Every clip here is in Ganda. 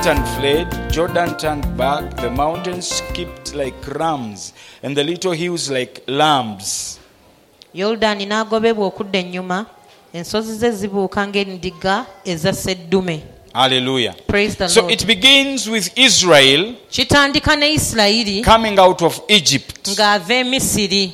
went and fled, Jordan turned back, the mountains skipped like rams, and the little hills like lambs. Yoludaani n'agobebwa okudda ennyuma, ensozi ze zibuuka ng'endiga eza sseddume. Hallelujah. Praise the So Lord. it begins with Israel Kitandika ne Isirayiri coming out of Egypt. ng'ava e Misiri.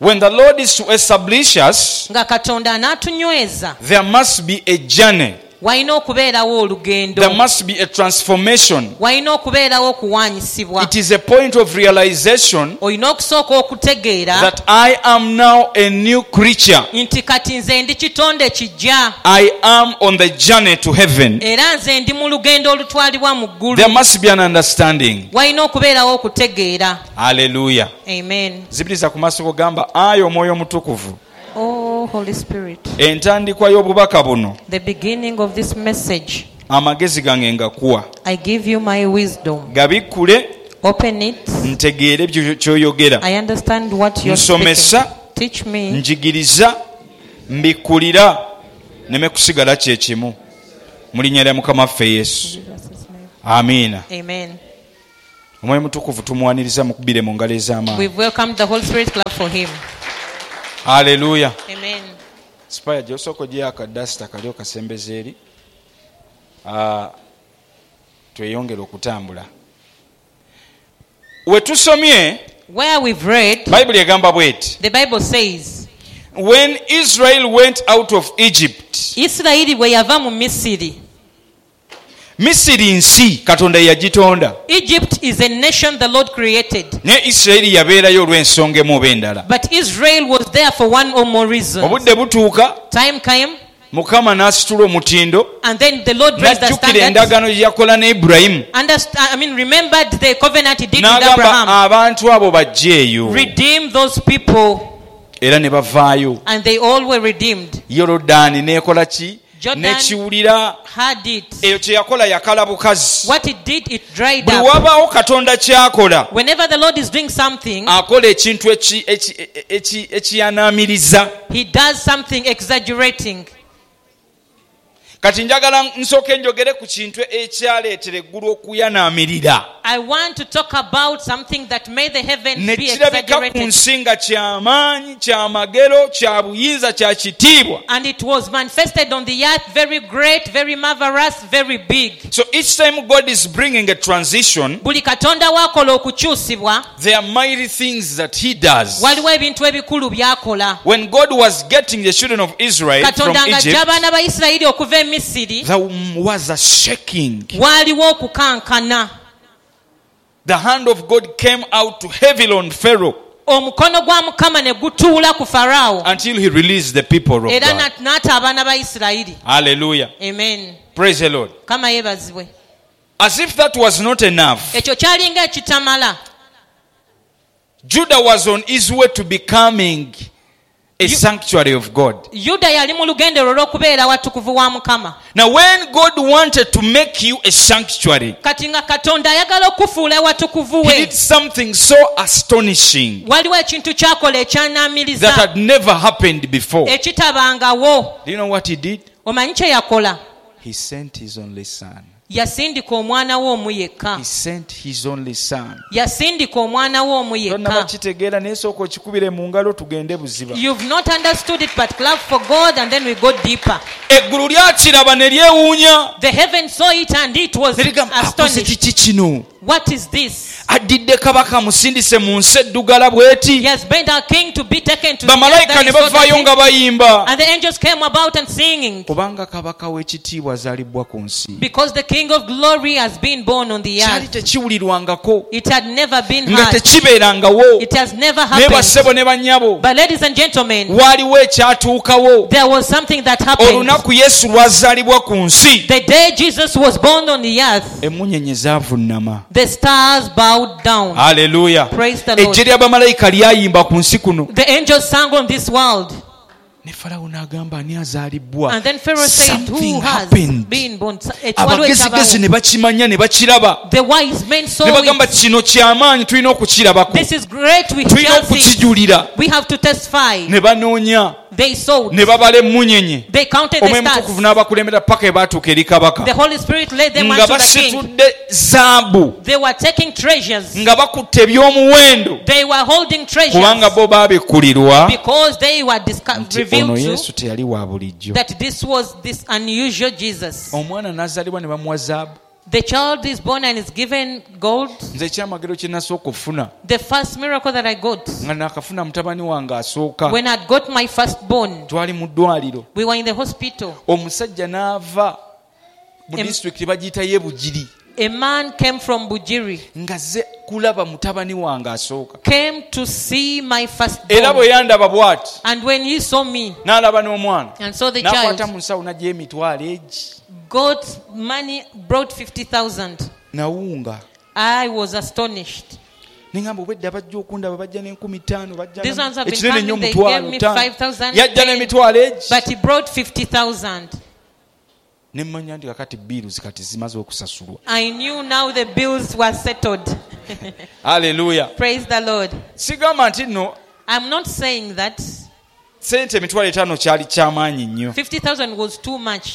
When the Lord is to establish us, Nga Katonda anaatunyweza, there must be a journey, walina okubeerawo olugendo, there must be a transformation. walina okubeerawo okuwaanyisibwa. It is a point of realization Olina okusooka okutegeera that I am now a new creature. nti kati nze ndi kitonde kijja, I am on the journey to heaven. era nze ndi mu lugendo olutwalibwa mu ggulu. There must be an understanding. Walina okubeerawo okutegeera. Hallelujah. Amen. Zibiriza ku maaso gamba ayi omwoyo omutukuvu Oh, Holy Spirit, entandikwa y'obubaka buno the beginning of this message, amagezi gange ngakuwa I give you my wisdom. gabikkule Open it. ntegeere kyoyogera I understand what you're speaking. Nsomesa. Teach me. Njigiriza mbikkulira neme kusigala kyekimu mu linnya lya mukama waffe Yesu. Amiina. Amen. Omwoyo mutukuvu tumuwaniriza mukubire mu ngalo ez'amaanyi. We've welcomed the Holy Spirit. Clap for him. Haleluya. Amen. Sipaya gyosooka ogyeyo akadasita kali okasembeza eri. Tweyongere okutambula we tusomye. Where we've read, Bayibuli egamba bweti: the Bible says, When Israel went out of Egypt, Isirayiri bwe yava mu Misiri. Misiri nsi Katonda ye yagitonda. Egypt is a nation the Lord created. Naye Isirayiri yabeerayo olw'ensonga emu oba endala. But Israel was there for one or more reason. Obudde butuuka, Time came, Mukama n'asitula omutindo, and then the Lord raised the n'ajjukira standard. endagaano gye yakola ne Ibulayimu, I mean, remembered the covenant he did with n'agamba Abraham. abantu abo bajjeeyo. Redeem those people, Era ne bavaayo. And they all were redeemed. Yorodaani n'ekola ki? Jordan N'ekiwulira. had it. Eyo kye yakola yakala bukazi. What it did, it dried Buli up. wabaawo Katonda kyakola, Whenever the Lord is doing something, akola ekintu ekiyanaamiriza. he does something exaggerating. Kati njagala nsooke njogere ku kintu ekyaleetera eggulu okuyanaamirira, I want to talk about something that made the heavens ne be kirabika ku exaggerated. nsi nga kyamaanyi, kyamagero, kya buyinza, kya kitiibwa. And it was manifested on the earth very great, very marvelous, very big. So each time God is bringing a transition, Buli Katonda waakola okukyusibwa, there are mighty things that he does. waliwo ebintu ebikulu by'akola. When God was getting the children of Israel from Katonda ng'aggya Egypt, abaana ba Isirayiri okuva e Misiri, there was a shaking. waaliwo okukankana. The hand of God came out to heavily on Pharaoh Omukono gwa Mukama ne gutuula ku Faraawo until he released the people of era God. n'ata abaana ba Isirayiri. Hallelujah. Amen. Praise the Lord. Mukama yeebazibwe. As if that was not enough, Ekyo kyalinga ekitamala. Judah was on his way to becoming a sanctuary of God. Yuda yali mu lugendo lwe olw'okubeera watukuvu wa Mukama. Now, when God wanted to make you a sanctuary, Kati nga Katonda ayagala okufuula ewatukuvu he we, did something so astonishing waliwo ekintu kyakola that ekyanaamiriza had never happened before. ekitabangawo. Do you know what he did? Omanyi kye yakola? He sent his only son. Yasindika omwana we omu yekka. He sent his only son. Yasindika omwana we omu Tonnaba yekka. kitegeera naye sooka okikubire mu ngalo tugende buziba. You've not understood it, but clap for God and then we go deeper. Eggulu lyakiraba ne lyewuunya, The heaven saw it and it was ne ligamba akoze astonished. kiki kino? What is this? Addidde kabaka amusindise mu nsi eddugala bw'eti. He has made our king to be taken to the earth Bamalayika that ne is so bavaayo dirty. nga bayimba, And the angels came about and singing, kubanga kabaka w'ekitiibwa azaalibwa ku nsi. because the King of glory has been born on the Kyali earth. tekiwulirwangako, It had never been nga heard. tekibeerangawo. It has never Naye happened. bassebo ne bannyabo, But ladies and gentlemen, waaliwo ekyatuukawo there was something that happened. olunaku Yesu lwazaalibwa ku nsi. The day Jesus was born on the earth, Emmunyenye zaavunnama. the stars bowed down. Aleluya. Praise the Lord. Ejje ly'abamalayika lyayimba ku nsi kuno, The angels sang on this world, Ne Falawo n'agamba, ani azaalibbwa? And then Pharaoh said, Something who has happened. been born? Ekiwaliwo Abagezigezi ekyabawo. ne bakimanya ne bakiraba. The wise men Ne saw bagamba, it. kino kyamaanyi, tulina okukirabako, This is great, we tulina shall see. okukijulira. We have to testify. Ne banoonya, They sought. ne babala emmunyenye. They counted the Omwoyo stars. Mutukuvu n'abakulembera paka ebaatuuka eri kabaka, The Holy Spirit led them nga unto the king. basitudde zaabu, They were taking treasures. nga bakutte eby'omuwendo, They were holding kubanga treasures bo baabikkulirwa because they were nti ono revealed to Yesu teyali wa bulijjo. that this was this unusual Jesus. Omwana n'azaalibwa ne bamuwa zaabu. The child is born and is given gold. Nze ekyamagero kye nasooka okufuna, The first miracle that I got, nga naakafuna mutabani wange asooka, when I got my firstborn, twali mu ddwaliro. we were in the hospital. Omusajja n'ava mu disitulikiti bagiyita Yebugiri, A man came from Bujiri, ng'azze kulaba mutabani wange asooka. came to see my Era bwe firstborn. yandaba bw'ati, And when he saw me n'alaba n'omwana, and saw the n'akwata child, mu nsawo n'aggya emitwalo egi. got money, brought 50,000. Nawunga. I was astonished. Neŋamba, obwedda bajja okundaba bajja n'enkumi ttaano, bajja These ones have been ekinene nnyo coming, they omutwalo gave me ttaano. 5,000, Yajja 10, n'emitwalo egi. But he brought 50,000. Ne mmanya nti kakati bills kati zimaze okusasulwa. I knew now the bills were settled. Aleluya. Praise the Lord. Sigamba nti nno I'm not saying that sente 50,000 kyali kyamaanyi nnyo, 50,000 was too much.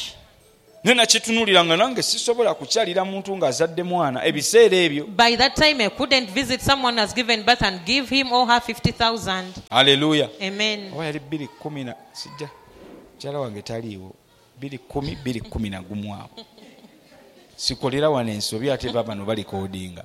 naye nakitunuulira nga nange sisobola kukyalira muntu ng'azadde mwana ebiseera ebyo. By that time, I couldn't visit someone who has given birth and give him or her 50,000. Aleluya. Amen. Oba yali bbiri kumi na sijja, mukyala wange taliiwo, 2010, 2011 awo. Sikolera wano ensobi, ate babano balikoodinga.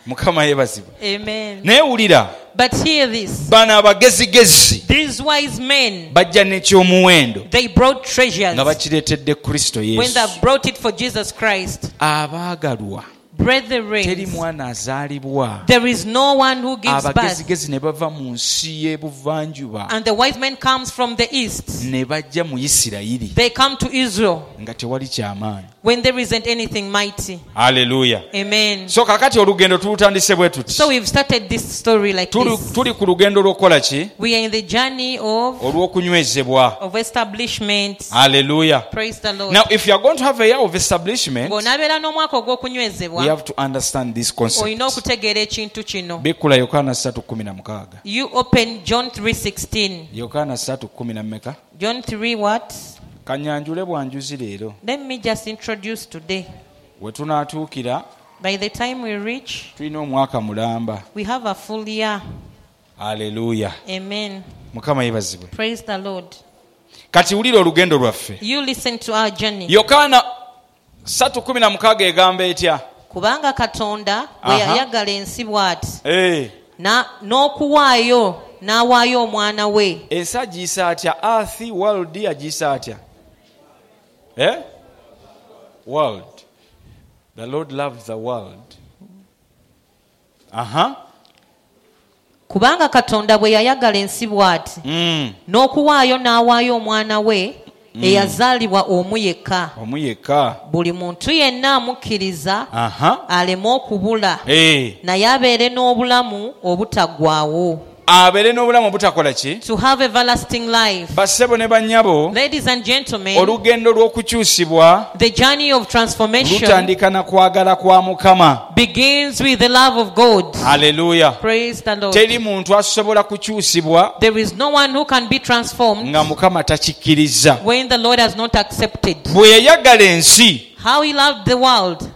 Mukama yeebazibwe. Amen. Naye wulira, But hear this. bano abagezigezi These wise men, bajja n'ekyomuwendo they brought treasures nga bakireetedde Kristo when Yesu. they brought it for Jesus Christ. Abaagalwa, teri Brethren, mwana azaalibwa, there is no one who gives birth. abagezigezi ne bava mu nsi y'ebuvanjuba And the wise man comes from the east. ne bajja mu Isirayiri They come to Israel nga tewali kyamaanyi. when there isn't anything mighty. Aleluya. Amen. So kakati olugendo tulutandise bwe tuti. So we've started this story like Tuli this. tuli ku lugendo lw'okukola ki? We are in the journey of, Olw'okunywezebwa. of establishment. Aleluya. Praise the Lord. Now if you are going to have a year of establishment, Bw'onaabeera n'omwaka we ogw'okunywezebwa, have to understand this concept. olina okutegeera ekintu kino. Bikkula Yokaana 3:16. You open John 3:16. Yokaana 3:10 mmeka? John 3 what? Kanyanjule bwanjuzi leero. Let me just introduce today. We tunaatuukira, By the time we reach, tulina omwaka mulamba. we have a full year. Aleluya. Amen. Mukama yeebazibwe. Praise the Lord. Kati wulira olugendo lwaffe. You listen to our journey. Yokaana 3:16 egamba etya? Kubanga Katonda bwe Aha. yayagala ensi bw'ati, Eh, n'okuwaayo n'awaayo omwana we. Ensi agiyisa atya? Earth, world agiyisa atya? Eh? World. The Lord loved the world. Aha. Kubanga Katonda bwe yayagala ensi bw'ati, n'okuwaayo n'awaayo omwana we eyazaalibwa omu yekka, Omu yekka. Buli muntu yenna amukkiriza Aha. aleme okubula, Eh. naye abeere n'obulamu obutaggwaawo. Abeere n'obulamu obutakola ki? To have everlasting life. Bassebo ne bannyabo, Ladies and gentlemen, olugendo lw'okukyusibwa the journey of transformation lutandika na kwagala kwa Mukama. begins with the love of God. Aleluya. Praise the Lord. Teri muntu asobola kukyusibwa There is no one who can be transformed nga Mukama takikkiriza. when the Lord has not accepted. Bwe yayagala ensi How he loved the world,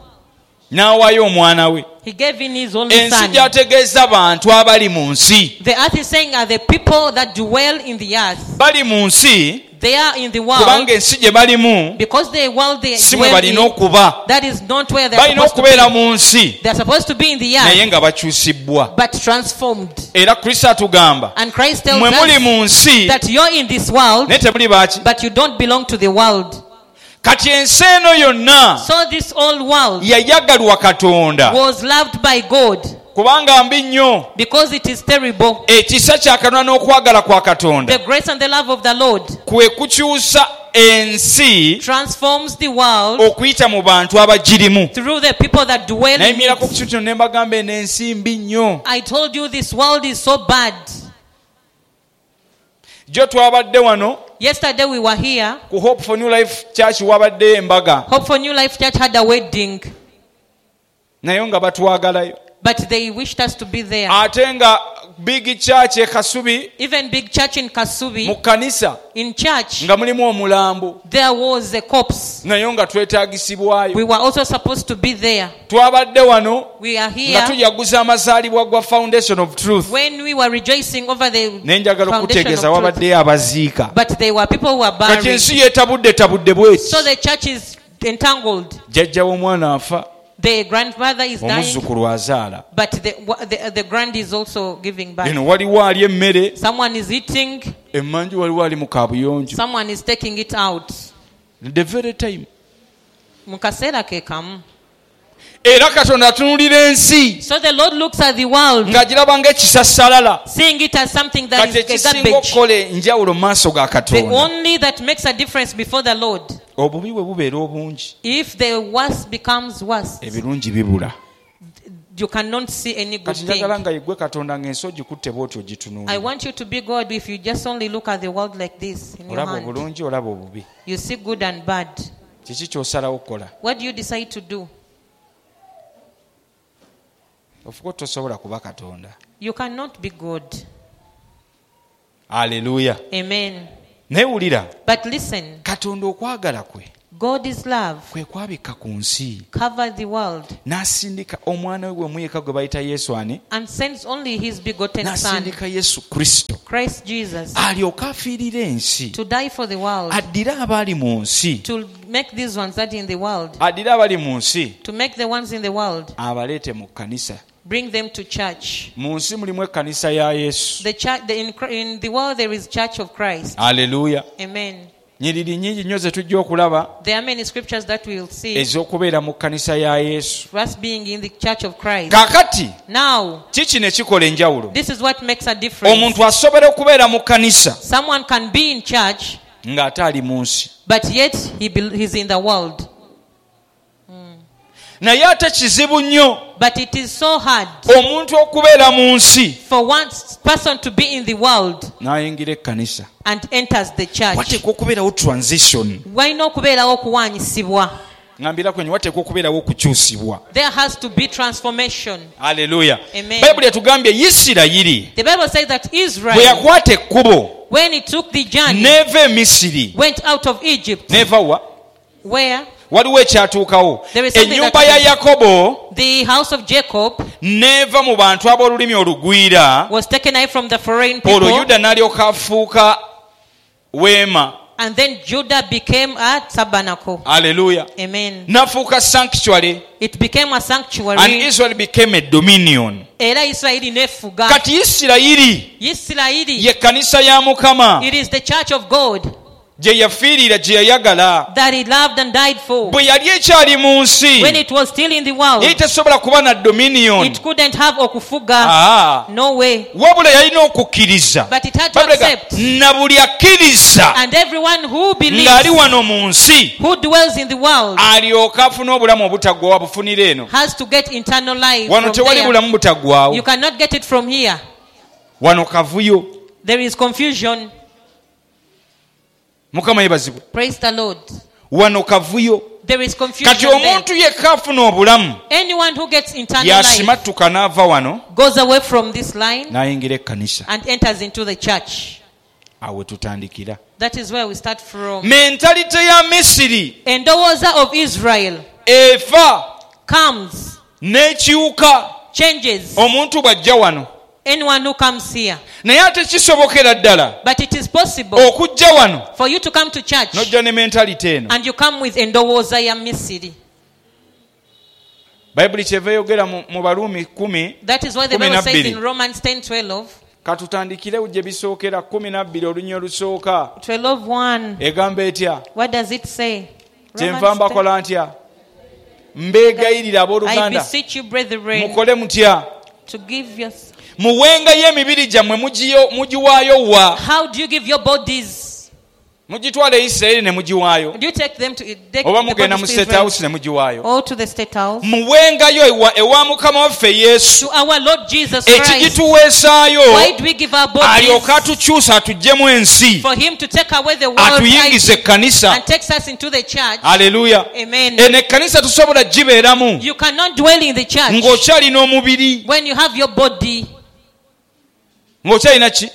n'awaayo omwana we. he gave in his only Ensi son. gy'ategeeza bantu abali mu nsi. The earth is saying are the people that dwell in the earth. Bali mu nsi They are in the world kubanga ensi gye balimu because the world they si mwe dwell balina in, okuba. that is not where they are Balina supposed to okubeera be. mu nsi They are supposed to be in the naye earth, nga bakyusibbwa. but transformed. Era Kristo atugamba, And Christ tells mwe muli us mu nsi that you're in this world, naye temuli baaki. but you don't belong to the world. Kati ensi eno yonna So this old world yayagalwa Katonda was loved by God kubanga mbi nnyo. because it is terrible. Ekisa kya Katonda n'okwagala kwa Katonda The grace and the love of the Lord kwe kukyusa ensi transforms the world okuyita mu bantu abagirimu. through the people that dwell in Nayimirako ku it. kintu kino ne mbagamba, eno ensi mbi nnyo. I told you this world is so bad. Jjo twabadde wano Yesterday we were here. ku Hope for New Life Church, wabaddeyo embaga, Hope for New Life Church had a wedding, naye nga batwagalayo. But they wished us to be there. Ate nga big church e Kasubi, Even big church in mu Kasubi, kkanisa in church, nga mulimu omulambo, there was a corpse. Naye nga twetaagisibwayo. We were also supposed to be there. Twabadde wano We are nga here tujaguza amazaalibwa gwa Foundation of Truth, when we were rejoicing over the naye njagala foundation okutegeeza of truth. wabaddeyo abaziika. But there were people who were Kati buried. ensi yeetabudde tabudde bweti. So the church is entangled. Jjajja w'omwana afa, The grandmother is dying, omuzzukulu azaala. But the grand is also giving birth. Eno waliwo ali emmere, Someone is eating, emmanju waliwo ali mu kabuyonjo, someone is taking it out. The very time. Mu kaseera ke kamu. Era Katonda atunulira ensi So the Lord looks at the world, ng'agiraba ng'ekisasalala. Seeing it as something that Kati is a ekisinga garbage. okukola enjawulo mu maaso ga The Katonda, only that makes a difference before the Lord, obubi bwe bubeera obungi, if the worst becomes worse, ebirungi bibula. You cannot see any good Kati thing. njagala nga yeggwe Katonda ng'ensi ogikutte bw'oti I ogitunuulira. want you to be God if you just only look at the world like this in your Olaba hand. obulungi, olaba obubi. You see good and bad. Kiki ky'osalawo okukola? What do you decide to do? Ofuka tosobola kuba Katonda. You cannot be God. Aleluya. Amen. Naye wulira, But listen, Katonda okwagala kwe God is love. Kwe kwabikka ku nsi, Cover the world n'asindika omwana we gwemuyeka gwe bayita Yesu ani, and sends only his begotten Son, n'asindika Yesu Kristo Christ Jesus, alyoke afiirire ensi, to die for the world, addire abaali mu nsi, to make these ones that in the world, addire abali mu nsi to make the ones in the world, abaleete mu kkanisa. Bring them to church. Mu nsi mulimu ekkanisa ya Yesu. The church, the, in, in the world there is Church of Christ. Aleluya. Amen. Nyiriri nyingi nnyo ze tujja okulaba There are many scriptures that we will see ez'okubeera mu kkanisa ya Yesu. For us being in the Church of Christ. Kaakati Now, kiki ne kikola enjawulo? This is what makes a difference. Omuntu asobola okubeera mu kkanisa Someone can be in church, ng'ate ali mu nsi, but yet he's in the world. Naye ate kizibu nnyo But it is so hard omuntu okubeera mu nsi for one person to be in the world n'ayingira ekkanisa. And enters the church. Wateekwa okubeerawo transition. Walina okubeerawo okuwanyisibwa. Ŋambira kwenye, wateekwa okubeerawo okukyusibwa. There has to be transformation. Aleluya. Amen. Bayibuli etugambye Isirayiri The Bible says that bwe Israel, yakwata ekkubo when he took the journey, n'eva e Misiri, went out of Egypt. n'eva wa? Where? Waliwo ekyatuukawo. There is something Ennyumba that ya Yakobo The house of Jacob n'eva mu bantu ab'olulimi olugwira, was taken away from the foreign olwo people, Yuda n'alyoka afuuka weema. And then Judah became a tabernacle. Aleluya. Amen. N'afuuka sanctuary, It became a and sanctuary. Israel became a dominion. Era Isirayiri nefuga. Kati Isirayiri Isirayiri, ye kkanisa ya Mukama it is the church of God gye yafiirira, gye yayagala. That he loved and died for. Bwe yali ekyali mu nsi, When it was still in the world, yali tesobola kuba na dominion. It couldn't have okufuga. Ah. No way. Wabula yalina okukkiriza. But it had to Bayibuli egamba, accept. na buli akkiriza And everyone who ng'ali believes, wano mu nsi, who dwells in the world, alyoke afune obulamu obutaggwawo abufunire eno. Has to get eternal life. Wano From tewali there. bulamu butaggwawo. You cannot get it from here. Wano kavuyo. There is confusion. Mukama yebazibwe. Praise the Lord. Wano kavuyo. There is Kati confusion there. omuntu yekka afuna obulamu Anyone who gets eternal life yasimattuka n'ava wano goes away from this line n'ayingira ekkanisa. And enters into the church. Awo tutandikira. That is where we start from. Mentalite ya Misiri Endowooza of Israel efa comes, n'ekyuka changes. Omuntu bw'ajja wano. Anyone who comes here. Naye ate kisobokera ddala But it is possible okujja wano for you to come to church n'ojja ne mentalite eno. And you come with endowooza ya Misiri. Bayibuli kyeva eyogera mu mu Baluumi 10. That is why the Kumi Bible na says bbiri. in Romans 10 12, Katutandikire gye bisookera 12 olunya olusooka. 12 1. Egamba etya? What does it say? Kyenva Romans 10. mbakola ntya, mbeegayirira I abooluganda, beseech you, brethren, mukole mutya? To give your. Muwengayo emibiri gyammwe, mugiwaayo wa? How do you give your bodies? Mugitwala e Isirayiri ne mugiwaayo, Do you take them to take oba the mugenda mu bodies to State Israel House ne mugiwaayo? or to the State House? Muwengayo ewa Mukama waffe Yesu. To our Lord Jesus Christ. Ekigituweesaayo, Why do we give our bodies? alyoke atukyusa atuggyemu ensi, For him to take away the world atuyingize ekkanisa. and takes us into the church. Aleluya. Amen. Eno ekkanisa tosobola gibeeramu You cannot dwell in the church ng'okyalina omubiri, when you have your body. ng'okyalina ki.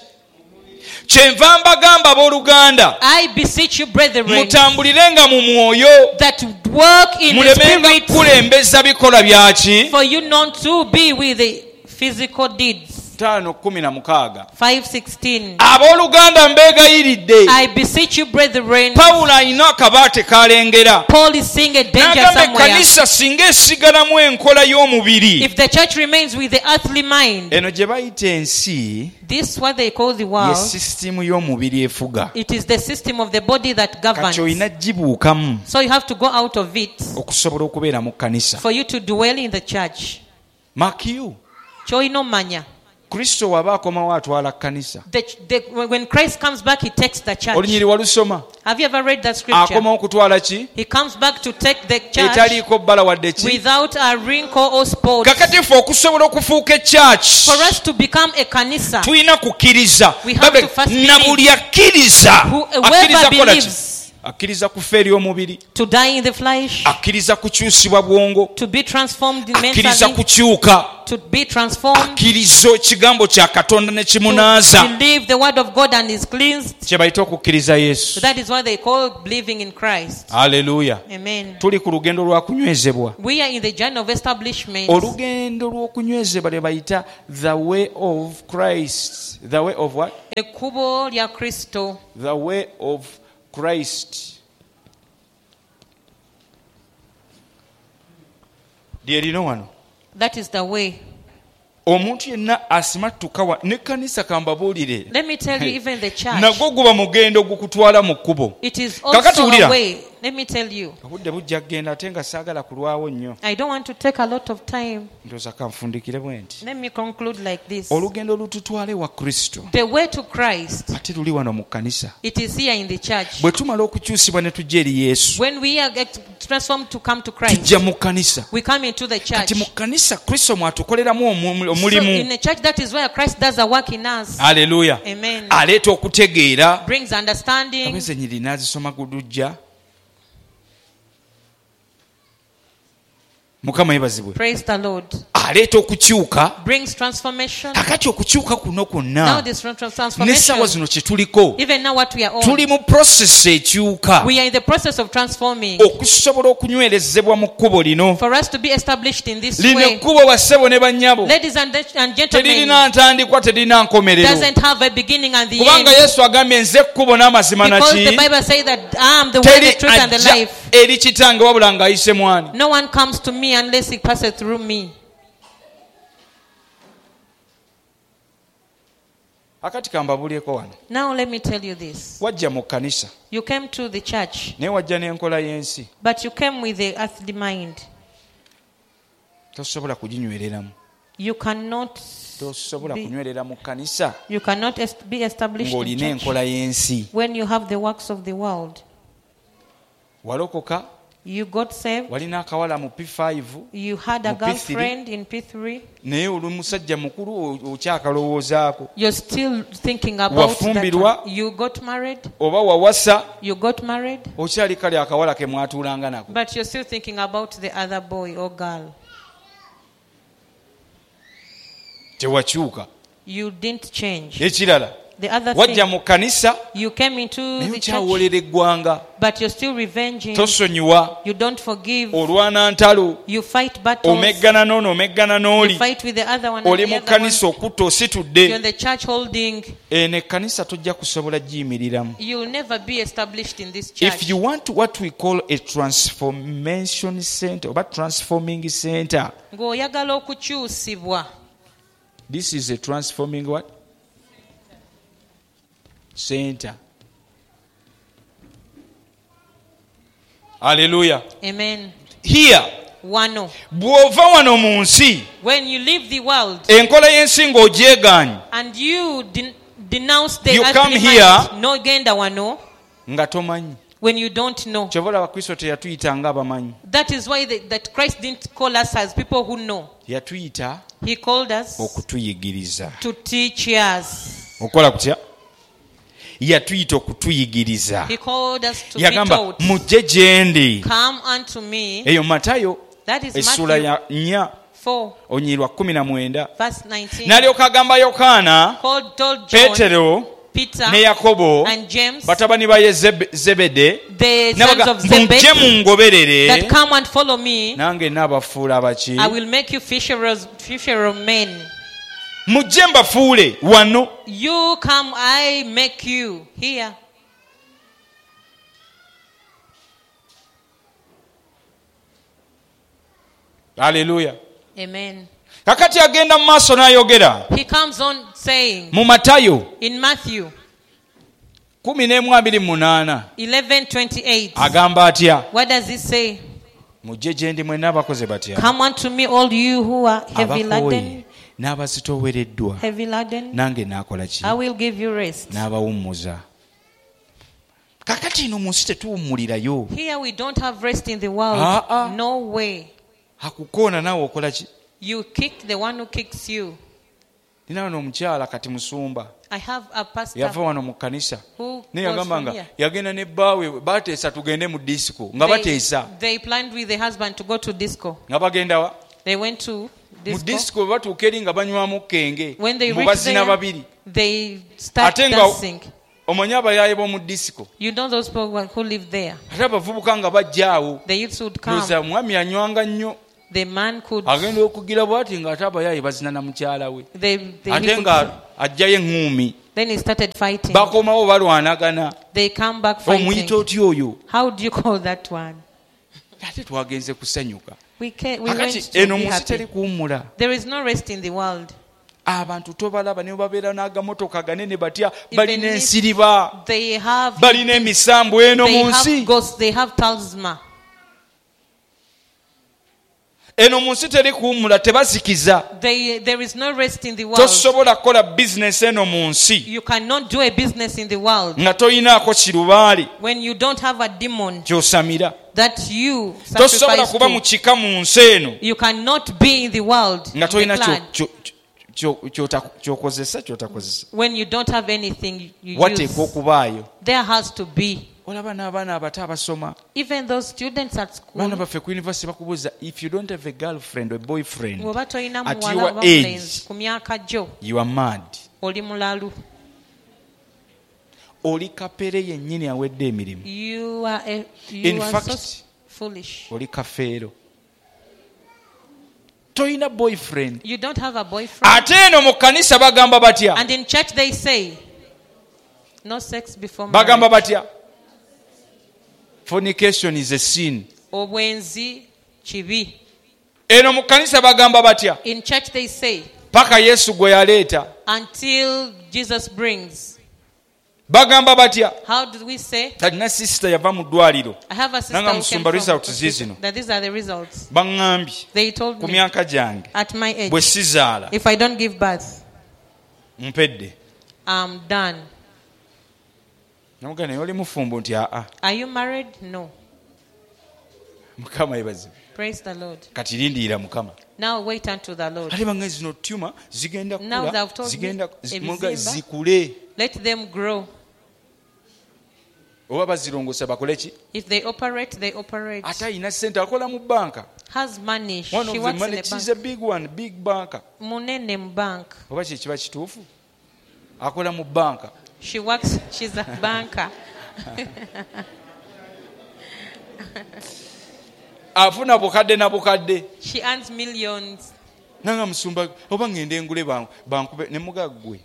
Kyenva mbagamba, abooluganda, I beseech you, brethren, mutambulirenga mu mwoyo, that work in the mulemenga spirit, kukulembeza bikolwa byaki. for you not to be with the physical deeds. 5:16. 5:16. Abooluganda, mbeegayiridde. I beseech you, brethren. Pawulo alina akabaate kalengera. Paul is seeing a danger N'agamba, somewhere. ekkanisa singa esigalamu enkola y'omubiri, If the church remains with the earthly mind, eno gye bayita ensi, this what they call the ye world, sisitimu y'omubiri efuga. it is the system of the body that Kati governs. olina gibuukamu So you have to go out of it okusobola okubeera mu kkanisa. for you to dwell in the church. Makiyu, Ky'olina omanya. Kristo waba akomawo atwala kkanisa. When Christ comes back, he takes the church. Olunyiri walusoma? Have you ever read that scripture? Akomawo kutwala ki? He comes back to take the church Etaliiko bbala wadde ki. without a wrinkle or spot. Kakati ffe okusobola okufuuka ekyaki, For us to become a kanisa, tulina kukkiriza. We have to first Na believe. buli akkiriza, Whoever akkiriza kukola ki? believes. Akkiriza kufa eri omubiri, to die in the flesh, akkiriza kukyusibwa bwongo, to be transformed akkiriza mentally, kukyuka, to be transformed, akkiriza ekigambo kya Katonda ne to kimunaaza, believe the word of God and is cleansed. kye bayita okukkiriza Yesu. So that is what they call believing in Christ. Aleluya. Amen. Tuli ku lugendo lwa kunywezebwa. We are in the journey of establishment. Olugendo lw'okunywezebwa lwe bayita the way of Christ. The way of what? Ekkubo lya Kristo. The way of Christ lye lino wano. That is the way. Omuntu yenna asimattuka wa nekkanisa, kambabuulire, Let me tell you, even the church, nagwo guba mugendo gukutwala mu kkubo. it is Kakati also wulira. a way. Let me tell you, Obudde bujja kugenda ate nga saagala kulwawo nnyo. I don't want to take a lot of time. Ndowooza kanfundikire bwe nti. Let me conclude like this. Olugendo olututwala ewa Kristo The way to Christ, ate luli wano mu kkanisa. it is here in the church. Bwe tumala okukyusibwa ne tujja eri Yesu, When we are transformed to come to Christ, tujja mu kkanisa. we come into the church. Kati mu kkanisa Kristo mwatukoleramu So in omulimu. the church, that is where Christ does a work in us. Aleluya. Amen. Aleeta okutegeera. Brings understanding. Abeze enyiriri n'azisoma gulujja. Mukama yebazibwe. Praise the Lord. Aleeta okukyuka. Brings transformation. Kakati okukyuka kuno Now kwonna, this n'essaawa transformation, zino kye tuliko, even now what we are on, tuli mu process ekyuka we are in the process of transforming okusobola okunywerezebwa mu kkubo lino. for us to be established in this Lino way. ekkubo, bassebo ne bannyabo, Ladies and gentlemen, teririna ntandikwa, terina nkomerero, doesn't have a beginning and the end. kubanga Yesu agambye, nze ekkubo n'amazima Because the naki. Bible says that I am the way, Teri the truth, and the ajja life. eri kitange wabula ng'ayise mwani. No one comes to me unless he passes through me. Akati kambabulyeko wano. Now let me tell you this. Wajja mu kkanisa, You came to the church, naye wajja n'enkola y'ensi. but you came with the earthly mind. Tosobola kuginywereramu. You cannot Tosobola kunywerera mu kkanisa you cannot be established in ng'olina church enkola y'ensi. when you have the works of the world. Walokoka, You got saved. walina akawala mu P5, You had a Mu P3. girlfriend in P3. Naye oli musajja mukulu, okyakalowoozaako. You're still thinking about that Wafumbirwa. one. You got married. Oba wawasa, You got married. okyali kali akawala ke mwatuulanga nako. But you're still thinking about the other boy or girl. Tewakyuka. You didn't change. Ekirala, The other wajja thing, mu kkanisa, you came into naye the church, okyawolera eggwanga. but you're still revenging. Tosonyiwa. You don't forgive. Olwana ntalo. You fight battles. Omeggana n'ono, omeggana You n'oli. fight with the other one. And Oli the mu other one. kkanisa okutta You're in ositudde. the church holding. Eno ekkanisa tojja kusobola giyimiriramu. You'll never be established in this If church. you want what we call a transformation center oba transforming center, Ng'oyagala okukyusibwa. This is a transforming what? Center. Hallelujah. Amen. Here, Wano. bw'ova wano mu nsi, When you leave the world enkola y'ensi ng'ogyegaanyi, and you denounce the You come earthly here. mind, n'ogenda wano, Nga tomanyi. When you don't know. Kyova olaba Kristo teyatuyita ng'abamanyi. That is why that Christ didn't call us as people who know. Yatuyita He called us okutuyigiriza. to teach us. Okukola kutya? Yatuyita okutuyigiriza. He called us to be Yagamba taught. mujje gye ndi. Come unto me. Eyo Matayo That is essuula Matthew ya 4 4, onyirwa 19. verse 19. N'alyoka agamba Yokaana, Called, told John, Peetero Peter, ne Yakobo and James, batabani ba Zebede, the sons n'abaga of mujje Zebedee, that mungoberere come and follow me. nange naabafuula abaki. I will make you fishers, fisher of men. Mujje mbafuule wano. You come, I make you here. Aleluya. Amen. Kakati agenda mu maaso n'ayogera He comes on saying mu Matayo in Matthew 11:28 11:28. agamba atya? What does he say? Mujje gye ndi mwenna abakoze batya? Come unto me, all you who are heavy Abakooye laden, n'abazitoowereddwa, heavy laden, nange naakola ki? I will give you rest. N'abawummuza. Kakati eno mu nsi tetuwummulirayo. Here we don't have rest in the world. Ah, ah. No way. Akukoona naawe okola ki? You kick the one who kicks you. Nina wano omukyala kati musumba I have a pastor yava wano mu kkanisa who naye was yagamba from nga here. yagenda ne bbaawe bateesa tugende mu disiko nga bateesa They planned with the husband to go to disco. nga bagenda wa? They went to Mu disco. disiko bwe batuuka eri nga banywamu kenge When they mu reach bazina there, babiri they start Ate nga- dancing. omanyi abayaaye b'omu disiko You know those people who live there. ate abavubuka nga bajja awo The youths would come. ndowooza omwami yanywanga nnyo The man could. agenda okugira bw'ati ng'ate abayaaye bazina na mukyala we They, he ate could nga ajjayo eŋŋuumi then he started fighting. bakomawo balwanagana They come back omuyita fighting. otya oyo? How do you call that one? Ate twagenze kusanyuka. We, can, we Kakati went to eno be mu nsi teri happy. kuwummula. There is no rest in the world. Abantu tobalaba ne babeera n'agamotoka ganene batya Even balina if ensiriba They have, balina emisambu eno they mu nsi. have ghosts, they have talisman. Eno mu nsi teri kuwummula tebazikiza. There is no rest in the world. Tosobola kukola bizinesi eno mu nsi You cannot do a business in the world nga toyinaako kirubaale when you don't have a demon ky'osamira. that you Tosobola sacrifice kuba mu to. kika mu nsi eno You cannot be in the world nga in the tolina clan, ky'okozesa ky'otakozesa. when you don't have anything you Wateekwa use. okubaayo. There has to be. Olaba n'abaana abato abasoma Even those students at baana school, baffe ku university bakubuuza if you don't have a girlfriend or boyfriend bw'oba tolina at muwala your oba age mulenzi ku myaka gyo you are mad. oli mulalu. Oli kapere yennyini awedde emirimu. You are, a, you In are fact, so foolish. oli kafeero tolina boyfriend. You don't have a boyfriend. Ate eno mu kkanisa bagamba batya? And in church they say, no sex before Bagamba marriage. batya? Fornication is a sin. Obwenzi kibi. Eno mu kkanisa bagamba batya? In church they say, Paka Yesu gwe yaleeta. until Jesus brings. Bagamba batya? How do we say? Talina sisita yava mu ddwaliro I have a sister Nanga who came musumba from results hospital, zizino. that these are the results. Baŋŋambye They told ku me myaka gyange at my bwe age, sizaala if I don't give birth, mpedde. I'm done. Namugamba naye oli mufumbo nti aa. Are you married? No. Mukama yeebazibwe. Praise the Lord. Kati lindirira Mukama. Now wait unto the Lord. Ate bange zino tuma zigenda Now kula they've told me zigenda ebizimba. zikule Let them grow. oba bazirongoosa bakole ki? If they operate, they operate. Ate alina ssente akola mu banka. Has money. One She of the works in money, a she's bank. a big one, big banker. Munene mu bank. Oba kye kiba kituufu akola mu banka. She works, she's a banker. Afuna bukadde na bukadde. She earns millions. Nanga musumba oba ngende engule bankube ne mugaggwe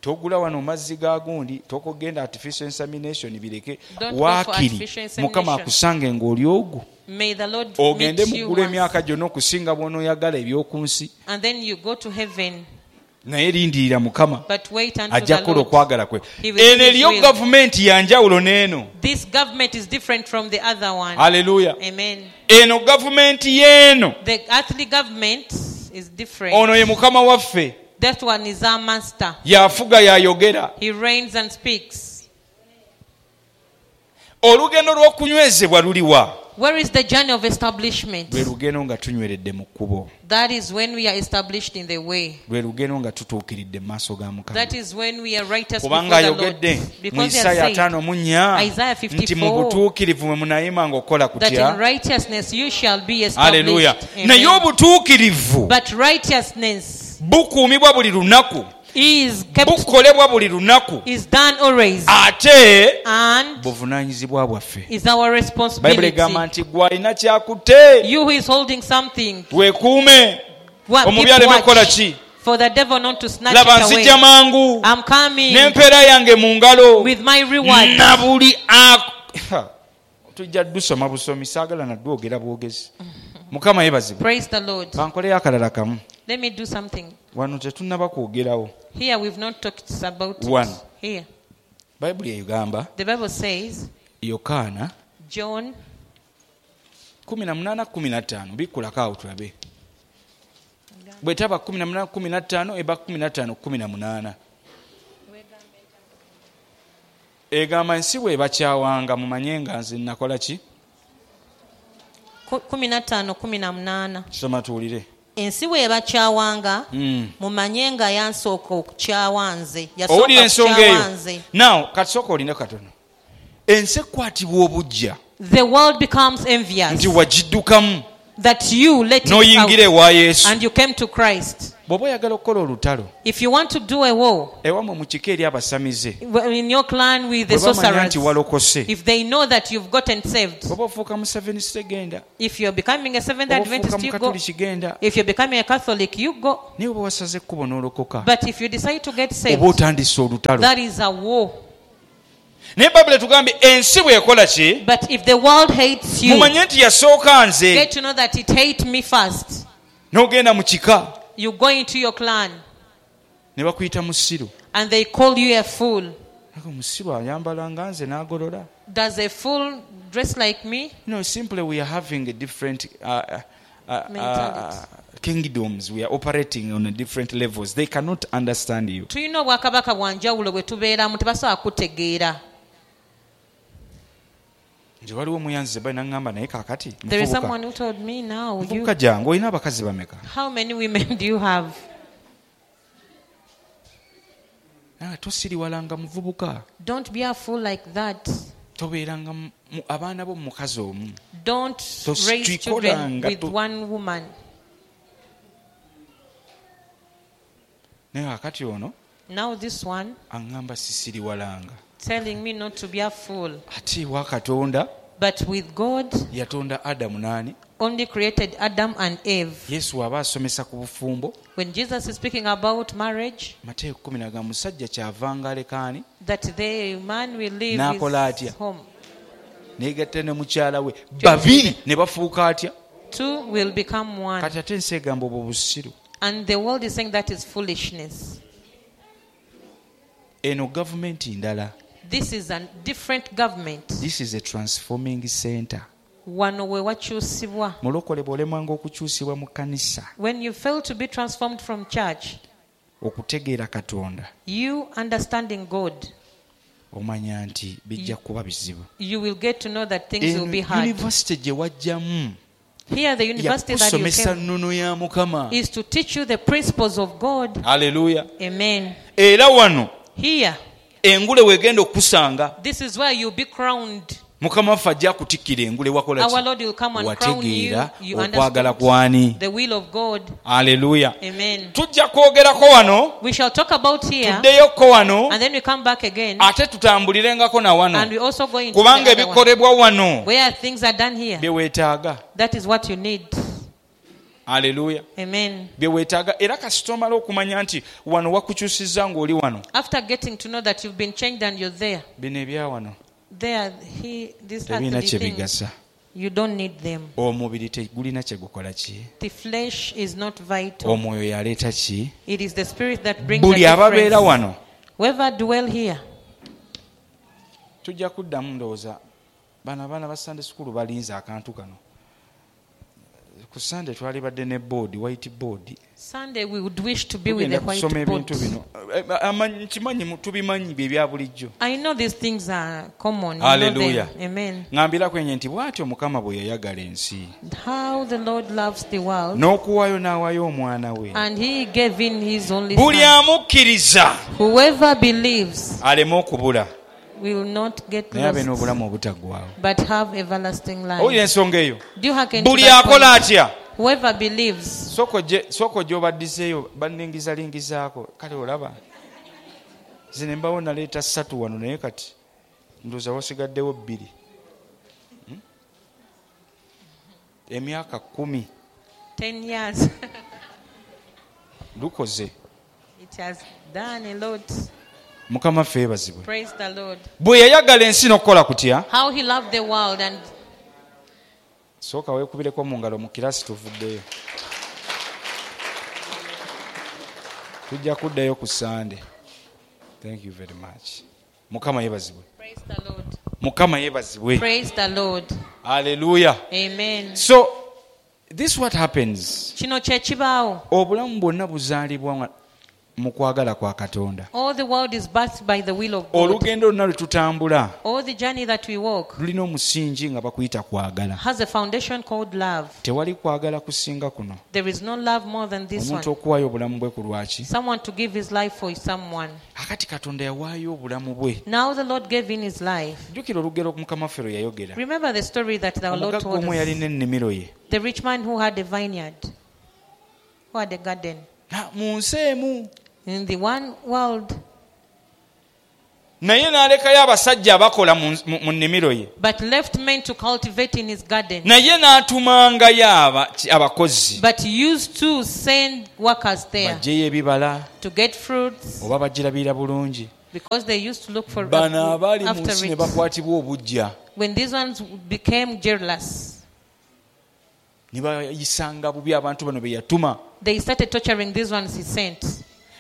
togula wano mazzi ga gundi tokogenda artificial insemination bireke. Don't go for Waakiri artificial insemination. Mukama akusange ng'oli ogwo May the Lord ogende meet you muggulu once. emyaka gyonna okusinga bw'onooyagala eby'oku nsi. And then you go to heaven. Naye lindirira Mukama But wait unto ajja the kukola Lord. okwagala kwe. He will Eno do his eriyo will. gavumenti ya njawulo n'eno. This government is different from the other one. Aleluya. Amen. Eno gavumenti y'eno The earthly government is different. ono ye Mukama waffe. That one is our master. Yafuga yayogera. He reigns and speaks. Olugendo lw'okunywezebwa luliwa? Where is the journey of establishment? Lwe lugendo nga tunyweredde mu kkubo. That is when we are established in the way. Lwe lugendo nga tutuukiridde mu maaso ga Mukama. That is when we are righteous before Kubanga the Lord. ayogedde mu Because he Isaaya has said 54 Isaiah nti mu 54, butuukirivu mwe munayimanga okukola that in kutya. righteousness you shall be Aleluya. established. Naye Amen. obutuukirivu But righteousness bukuumibwa buli lunaku, is kept, bukolebwa buli lunaku, is done always, ate and buvunaanyizibwa bwaffe. is our Bayibuli responsibility. egamba nti gwe alina kyakutte You who is holding something, weekuume omubi keep aleme kukola watch ki. for the devil not to snatch Laba it away. nzija mangu I'm coming n'empeera yange mu ngalo with my reward. na buli tujja dusoma busomi, saagala nadwogera bwogezi. Mukama yeebazibwe. Praise the Lord. Kankoleyo akalala kamu. Let me do something. Wano tetunnaba kwogerawo. Here we've not talked about it. One. Here. Bayibuli egamba The Bible says, Yokaana John 18:15 bikkulako awo tulabe. Bwetaba 18:15 eba 15:18. Egamba ensi bw'ebakyawanga mumanye nga nze nakola ki? 15:18. Soma tuwulire. Ensi bw'ebakyawanga mumanye nga yansooka okukyawa nze. Yasooka Owulira ensonga kukyawa eyo? nze. Now kati sooka olinde katono. Ensi ekwatibwa obuggya The world becomes envious nti wagiddukamu that you let it n'oyingira out ewa Yesu. and you came to Christ. Bw'oba oyagala okukola olutalo If you want to do a war ewammwe mu kika eri abasamize in your clan with the bwe bamanya nti sorcerers, walokose, if they know that you've gotten saved, oba ofuuka Museveniste genda, if you're becoming a Seventh oba ofuuka Adventist, you go. Mukatuliki genda, If you're becoming a Catholic, you go. naye oba wasaze ekkubo n'olokoka, But if you decide to get oba saved, otandise olutalo. that is a war. Naye Bayibuli etugambye ensi bw'ekola ki, But if the world hates you, mumanye nti yasooka nze. get to know that it hates me first. N'ogenda mu kika You go into your clan ne bakuyita musiru. and they call you a fool. Aga omusiru ayambala nga nze n'agolola. Does a fool dress like me? No, simply we are having a different Mentality. kingdoms. We are operating on a different levels. They cannot understand you. Tulina obwakabaka bwa njawulo bwe tubeeramu, tebasobola kutegeera. Nze waliwo omuyanzize bali naŋŋamba naye kaakati There is muvubuka. someone who told me now, you, Muvubuka jangu olina abakazi bameka? how many women do you have? Nange tosiriwalanga muvubuka. Don't be a fool like that. Tobeeranga abaana bo mu mukazi omu. Don't raise children Tokikolanga with one woman. Naye kaakati ono Now this one aŋŋamba sisiriwalanga. telling me not to be a fool. Ate ewa Katonda But with God, yatonda Adamu n'ani? only created Adam and Eve. Yesu aba asomesa ku bufumbo. When Jesus is speaking about marriage, Mateyo 10 agamba musajja kyavanga aleka ani? that the man will leave N'akola his atya? home. Neegatta ne mukyala we babiri ne bafuuka atya? Two will become one. Kati ate ensi egamba obwo busiru. And the world is saying that is foolishness. Eno gavumenti ndala. This is a different government. This is a transforming center. Wano we wakyusibwa. Mulokole bw'olemwanga okukyusibwa mu kkanisa When you fail to be transformed from church, okutegeera Katonda, you understanding God, omanya nti bijja kuba bizibu. you will get to know that things will Eno be hard. university gye wajjamu Here, the university that you yakusomesa came nnono ya Mukama. is to teach you the principles of God. Aleluya. Amen. Era wano Here, engule wegenda okukusanga. this is where you'll be crowned. Mukama waffe ajja akutikkira engule wakola Our ki? Lord will come and crown you. Wategeera You okwagala understood kwani? the will of God. Aleluya. Amen. Tujja kwogerako wano, We shall talk about here, tuddeyoko wano, and then we come back again, ate tutambulirengako na and wano, we also go into kubanga the other one. ebikolebwa wano Where things are done here, bye weetaaga. that is what you need. Aleluya. Amen. Bye weetaaga. Era kasita omala okumanya nti wano wakukyusizza ng'oli wano, After getting to know that you've been changed and you're there, bino ebya wano there, he, these tebirina earthly kye things, bigasa. you don't need them. Omubiri tegulina kye gukola ki? The flesh is not vital. Omwoyo yaleeta ki? It is the spirit that brings the Buli ababeera difference. wano Whoever dwell here, tujja kuddamu. Ndowooza bano abaana ba Sunday school balinze akantu kano. Ku Sande twalibadde ne board, white board. Sunday we would wish to be with Tugenda the kusoma whiteboard. ebintu bino. Nkimanyi tubimanyi bye bya bulijjo. I know these things are common. You know Hallelujah. them. Amen. Ŋŋambira kwenye nti bw'atyo Mukama bwe yayagala ensi How the Lord loves the world, n'okuwaayo n'awaayo omwana we, and He gave in His only buli Son. amukkiriza Whoever believes aleme okubula, will not get naye abe lost, n'obulamu obutaggwaawo. but have everlasting Owulira life. ensonga eyo? Do you hearken to Buli that akola point? atya? Whoever believes. Sooka ojje obaddizeeyo, banningizalingizaako. Kale olaba zino embawo naleeta ssatu wano, naye kati ndowooza wasigaddewo bbiri. Emyaka 10 10 years. Lukoze. It has done a lot. Mukama ffe yeebazibwe. Praise the Lord. Bwe yayagala ensi n'okukola kutya? How He loved the world and Sooka weekubireko mu ngalo mu kirasi, tuvuddeyo, tujja kuddayo ku Sande. Thank you very much. Mukama yeebazibwe. Praise the Lord. Mukama yeebazibwe. Praise the Lord. Aleluya. Amen. So this what happens. Kino kye kibaawo. Obulamu bwonna buzaalibwa mu kwagala kwa Katonda. All the world is birthed by the will of God. Olugendo lwonna lwe tutambula All the journey that we walk lulina omusingi nga bakuyita kwagala. has a foundation called love. Tewali kwagala kusinga kuno, There is no love more than this omuntu one. okuwaayo obulamu bwe ku lwaki. Someone to give his life for someone. Akati Katonda yawaayo obulamu bwe. Now the Lord gave in his life. Jjukira olugero Mukama waffe lwe yayogera. Remember the story that the Lord Omugagga told omu us. yalina ennimiro ye. The rich man who had a vineyard, who had a garden. Mu nsi emu. In the one world, Naye n'alekayo abasajja abakola mu nnimiro ye. but left men to cultivate in his garden. Naye n'atumangayo abakozi But used to send workers there baggyeyo ebibala to get fruits oba bagirabirira bulungi. because they used to look for Bano abaali mu after nsi ne it. bakwatibwa obuggya, When these ones became jealous, ne bayisanga bubi abantu bano be yatuma. they started torturing these ones he sent.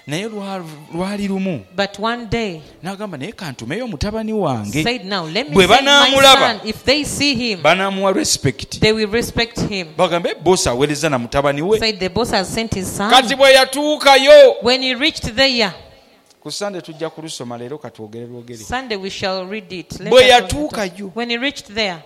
Naye lwali lumu But one day, n'agamba, naye kantumeyo mutabani wange, said, now let me Bwe send my banaamulaba, son. If they see him, banaamuwa respect, they will respect him. bagambe boosi aweereza na mutabani we. Said the boss has sent his son. Kati bwe yatuukayo, When he reached there, ku Sande tujja kulusoma, leero katwogere lwogere. Sunday we shall read it. Let Bwe us yatuukayo, When he reached there,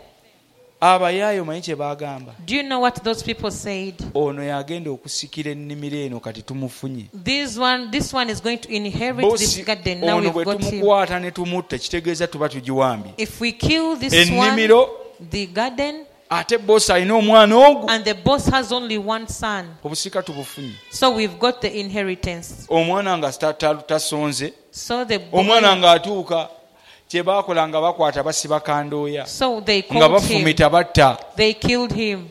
abayaayo manyi kye baagamba? do you know what those people said? Ono yagenda okusikira ennimiro eno, kati tumufunye. This one is going to inherit this Boosi garden. Now ono we've bwe got him. tumukwata ne tumutta, kitegeeza tuba tugiwambye If we kill this one, ennimiro. the garden, Ate boosi alina omwana ogwo, and the boss has only one son, obusika tubufunye. so we've got the inheritance. Omwana nga tasonze. So the boy, Omwana ng'atuuka, kye baakola nga bakwata basiba kandooya, so they nga caught him. bafumita batta. They killed him.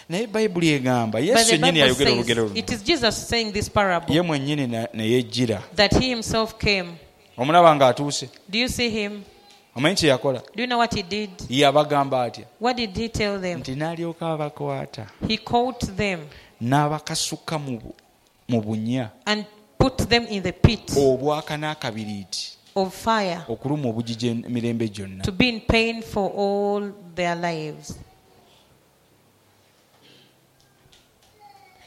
Naye Bayibuli egamba, But Yesu the yennyini Bible yayogera says, olugero luno, it is Jesus saying this parable, ye mwennyini ne yejjira. that he himself came. Omulaba ng'atuuse. Do you see him? Omanyi kye yakola? Do you know what he did? Yabagamba atya? What did he tell them? Nti n'alyoka abakwata He caught them n'abakasuka mu bunnya and put them in the pit obwaka n'akabiriiti of fire okuluma obugigi emirembe gyonna. to be in pain for all their lives.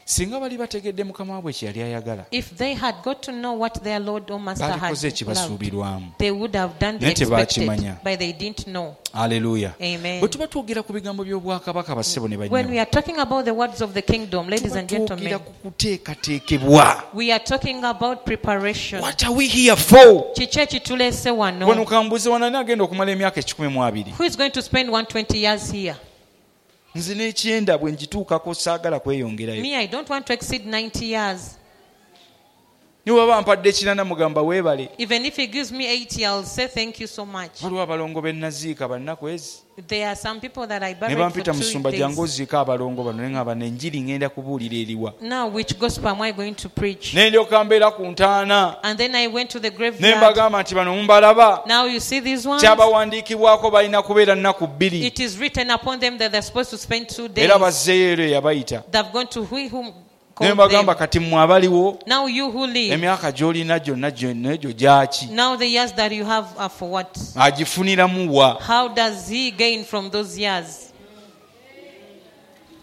Singa bali bategedde mukama waabwe kye yali ayagala, If they had got to know what their Lord or Master had baalikoze loved, ekibasuubirwamu. they would have done the Naye tebaakimanya. expected, but they didn't know. Aleluya. Amen. Bwe tuba twogera ku bigambo by'obwakabaka, bassebo ne When we bannyabo, are talking about the words of the kingdom, ladies tuba and twogera gentlemen, ku kuteekateekebwa. we are talking about preparation. What are we here for? Kiki ekituleese Wano wano? kambuze, wano ani agenda okumala emyaka 120? Who is going to spend 120 years here? Nze n'ekyenda bwe ngituukako saagala kweyongerayo. Me, I don't want to exceed 90 years. Ne bw'aba mpadde 80, mugamba weebale. Even if he gives me 80, I'll say thank you so much. Waliwo abalongo be naziika bannaku ezi, There are some people that I ne buried for bampita, 2 musumba, jangu days. oziika abalongo bano. Ne ŋŋamba, nenjiri ŋŋenda kubuulira eriwa? Now, which gospel am I going to preach? Ne ndyoka mbeera ku ntaana, And then I went to the ne graveyard. mbagamba nti bano mumbalaba, Now you see these ones? kyabawandiikibwako balina kubeera nnaku 2. It is written upon them that they're supposed to spend 2 days. Era bazzeeyo ero eyabayita. They've gone to he whom Ne called mbagamba, them. kati mmwe abaliwo, Now you who live, emyaka gy'olina gyonna gyonna egyo gyaki? now the years that you have are for what? Agifuniramu wa? How does he gain from those years?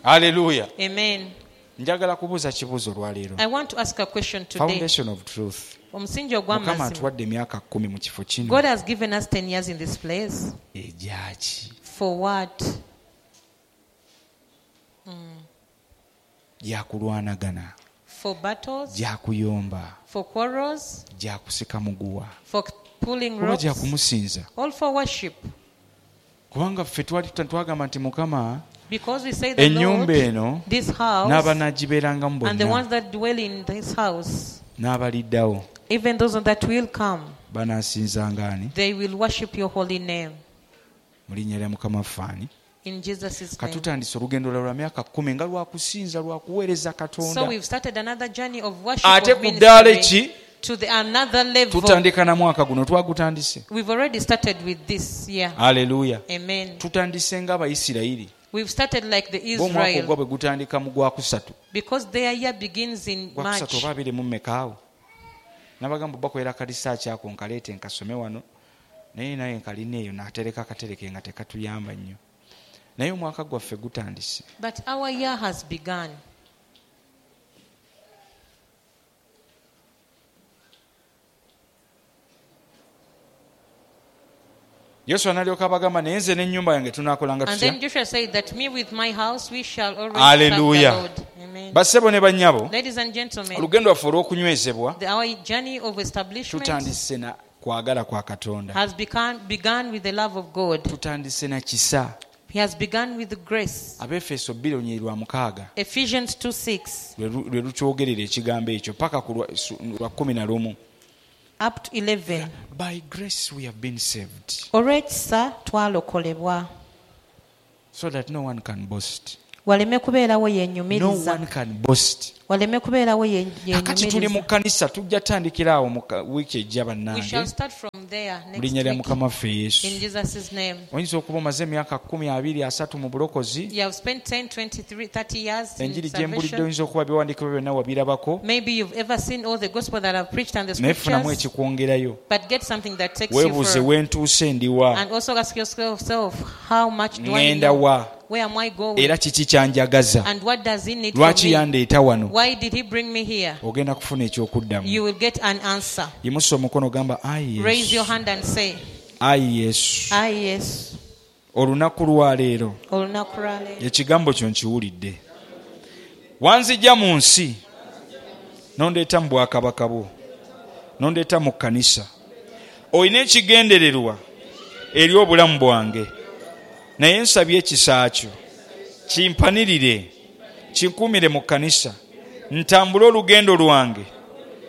Haleluya. Amen. Njagala kubuuza kibuuzo olwaleero. I want to ask a question today. Foundation of truth. Omusingi Mukama ogw'amazima. atuwadde emyaka 10 mu kifo kino. God has given us 10 years in this place. Egyaki? For what? Gyakulwanagana. For battles, Gyakuyomba. for quarrels, Gyakusika muguwa. for pulling Oba ropes, gyakumusinza. all for worship. Kubanga ffe twali twagamba nti Mukama Because we say the ennyumba Lord, eno this house, n'abanaagibeerangamu and the bonna ones that dwell in this house, n'abaliddawo even those that will come, banaasinzanga ani? they will worship your holy name. Mu linnya lya Mukama waffe ani? In Jesus' name. Katutandise olugendo lwa myaka 10 nga lwakusinza lwakuweereza So Katonda. we've started another journey of worship Ate of ku ddaala ministry ki to the another level. tutandika na mwaka guno twagutandise. We've already started with this year. Haleluya. Amen. Tutandise ng'Abayisirayiri. We've started like the Bo omwaka Israel ogwabwe gutandika mu gwakusatu. because their year begins in Gwakusatu March. oba abiri mu mmeka awo. Nabagamba bakolera kalisaaki ako nkaleete nkasome wano naye naye nkalina eyo natereka akatereke nga tekatuyamba nnyo. Naye omwaka gwaffe gutandise. But our year has begun. Yoswa n'alyoka abagamba naye nze n'ennyumba yange tunaakolanga And then tutya? Joshua said that me with my house we shall always serve the Hallelujah. Lord. Amen. Bassebo ne bannyabo, Ladies and gentlemen, olugendo lwaffe olw'okunywezebwa our journey of establishment tutandise na kwagala kwa Katonda. has begun with the love of God. Tutandise na kisa. He has begun with grace. Abeefeso 2:6 Ephesians 2:6 lwe lukyogerera ekigambo ekyo paka ku lwa 11. up to 11. By grace we have been saved Olw'ekisa twalokolebwa. so that no one can boast. Waleme kubeerawo No yeenyumiriza. one can boast. Waleme kubeerawo Kakati tuli mu yeenyumiriza. kkanisa tujja tandikira awo mu wiiki ejja We bannange shall start from there mu linnya next lya week Mukama waffe Yesu. in Jesus' name. Oyinza okuba omaze emyaka 10, 20, 30 mu bulokozi. You have spent 10, 23, 30 years in Enjiri gye mbulidde salvation. oyinza okuba ebiwandiiko byonna wabirabako Maybe you've ever seen all the gospel that I've preached and the naye funamu scriptures, ekikwongerayo. but get something that takes you Weebuuze further. we ntuuse ndiwa, And also ask yourself, how much do I ŋŋenda know? wa, Where am I going? era kiki kyanjagaza, And what does he need from lwaki me? yandeeta wano? Why did he bring me here? Ogenda kufuna ekyokuddamu. You will get an answer. Yimusa omukono gamba ayi Raise your Yesu, hand and say, ayi Yesu, Ayi Yesu, olunaku lwaleero olunaku lwaleero ekigambo kyo nkiwulidde. Wanzijja mu nsi n'ondeeta mu bwakabaka bwo, n'ondeeta mu kkanisa. Olina ekigendererwa eri obulamu bwange, naye nsabye ekisa kyo kimpanirire, kinkuumire mu kkanisa, ntambule olugendo lwange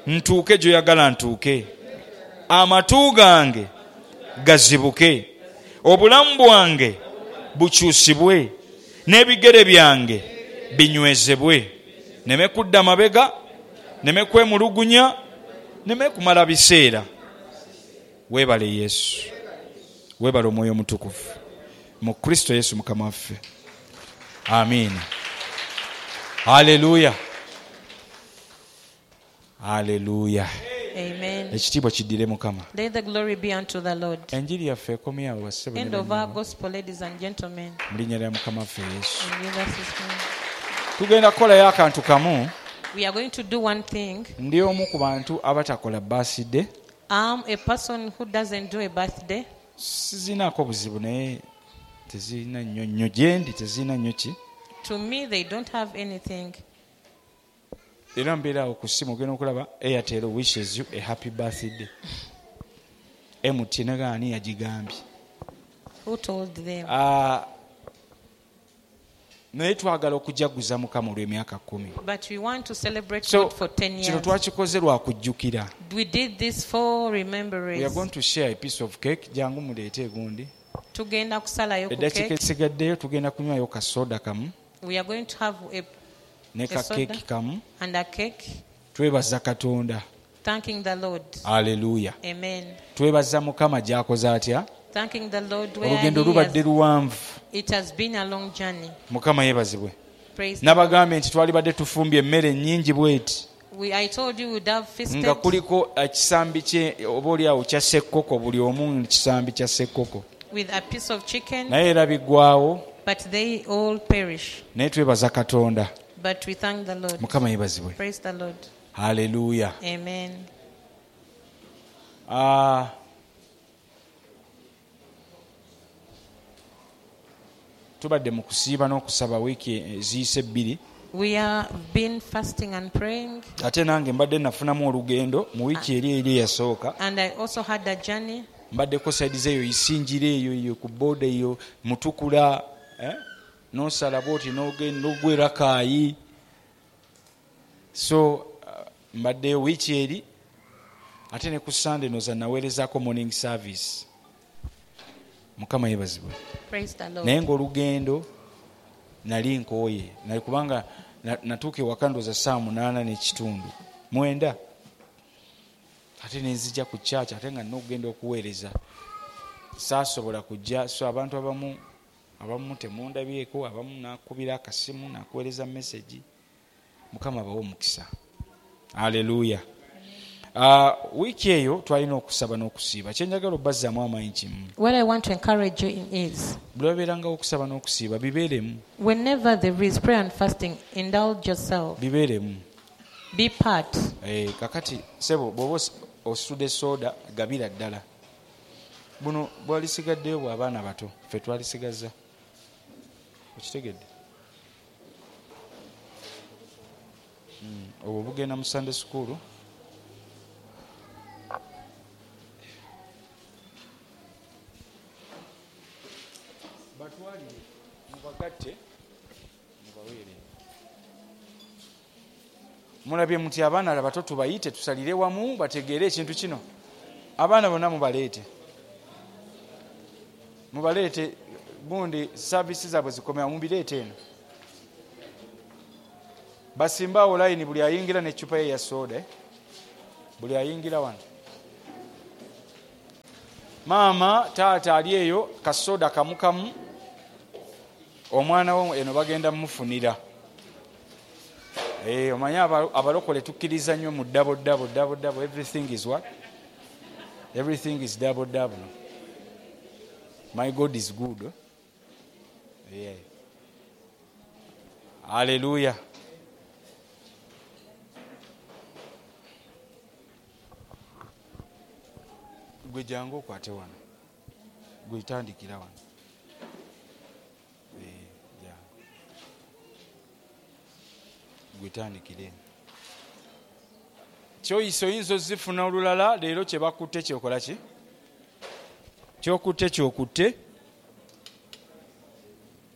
ntuuke gy'oyagala ntuuke, amatu gange gazibuke, obulamu bwange bukyusibwe, n'ebigere byange binywezebwe, neme kudda mabega, neme kwemulugunya, neme kumala biseera. Weebale Yesu, weebale Omwoyo Omutukuvu mu Kristo Yesu Mukama waffe. Amiina. Haleluya, haleluya. Amen. Ekitiibwa kiddire Mukama. Let the glory be unto the Lord. Enjiri yaffe ekomye awo bassebo ne End of our bannyabo. gospel, ladies and gentlemen. Mu linnya lya Mukama waffe Yesu. In Jesus' name. Tugenda kukolayo akantu kamu. We are going to do one thing. Ndi omu ku bantu abatakola birthday. I'm a person who doesn't do a birthday. Sizinaako buzibu naye tezirina nnyo nnyo gye ndi, tezirina nnyo ki. To me, they don't have anything. Era mbeera awo ku ssimu ogenda okulaba Airtel wishes you a happy birthday. MTN ani yagigambye? Who told them? Naye twagala okujaguza Mukama olw'emyaka 10. But we want to celebrate So God for 10 kino years. twakikoze lwa kujjukira. We did this for We are remembrance. going to share a piece of cake. Jangu muleete egundi. Tugenda kusalayo ku Eddakiika cake. esigaddeyo tugenda kunywayo ka soda kamu We are going to have a ne ka A soda. keeki kamu. and a cake, Twebaza Katonda. thanking the Lord. Haleluya. Amen. Twebaza Mukama gy'akoze atya. Thanking the Lord where Olugendo he lubadde has, luwanvu. it has been a long journey. Mukama yeebazibwe. Praise the Lord. Nabagambye nti twalibadde tufumbye emmere nnyingi bw'eti I told you we'd have feasted nga kuliko ekisambi kye oba oliawo kya ssekkoko, buli omu kisambi kya ssekkoko, with a piece of chicken, naye era biggwawo. But they all perish. Naye twebaza Katonda. But we thank the Lord. Mukama yeebazibwe. Praise the Lord. Haleluya. Amen. Ah, tubadde mu kusiiba n'okusaba wiiki eziyise 2. We have been fasting and praying, Ate nange mbadde nafunamu olugendo mu wiiki eri eyasooka. And I also had a journey. Mbaddeko side zeeyo Isinjira eyo eyo ku boda eyo Mutukula, eh? Nosala bwoti n'ogenda n'ogwa Rakaayi. So mbaddeyo wiiki eri, ate ne ku Sande noza naweerezaako morning service. Mukama yeebazibwe. Praise the Lord. Naye ng'olugendo nali nkooye, nali kubanga natuuka ewaka ndowooza ssaawa 8:30, 9, ate nenzija ku church, ate nga nina okugenda okuweereza, saasobola kujja. So abantu abamu temundabyeko, abamu nakubira akasimu, nakuweereza message. Mukama abawe omukisa. Haleluya. Wiiki eyo twalina okusaba n'okusiiba. Kyenjagala obbazzaamu amaanyi kimu. What I want to encourage you in is, Buli wabeerangawo okusaba n'okusiiba, bibeeremu. whenever there is prayer and fasting, indulge yourself. Bibeeremu. Be part. Kakati sebo bw'oba ositudde soda, gabira ddala. Buno bwalisigaddeyo bw'abaana bato, ffe twalisigaza. Okitegedde? Obwo bugenda mu Sunday school. Batwalire, mubagatte, mubaweere. Mulabye muti abaana abato tubayite tusalire wamu bategeere ekintu kino. Abaana bonna mubaleete. Mubaleete gundi services zaabwe zikomera, mubireete eno. Basimba awo layini, buli ayingira n'eccupa ye ya soda. Buli ayingira wano. Maama, taata ali eyo, kasoda kamu kamu. Omwana wo eno bagenda mumufunira. Omanyi abalokole tukkiriza nnyo mu double, double, double, double. Everything is what? Everything is double, double. My God is good. Yeah. Hallelujah. Gwe jangu okwate wano. Gwe tandikira wano. Jangu. Gwe tandikira eno. Kyoyise oyinza ozifuna olulala, leero kye bakutte kyokola ki? Kyokutte kyokutte.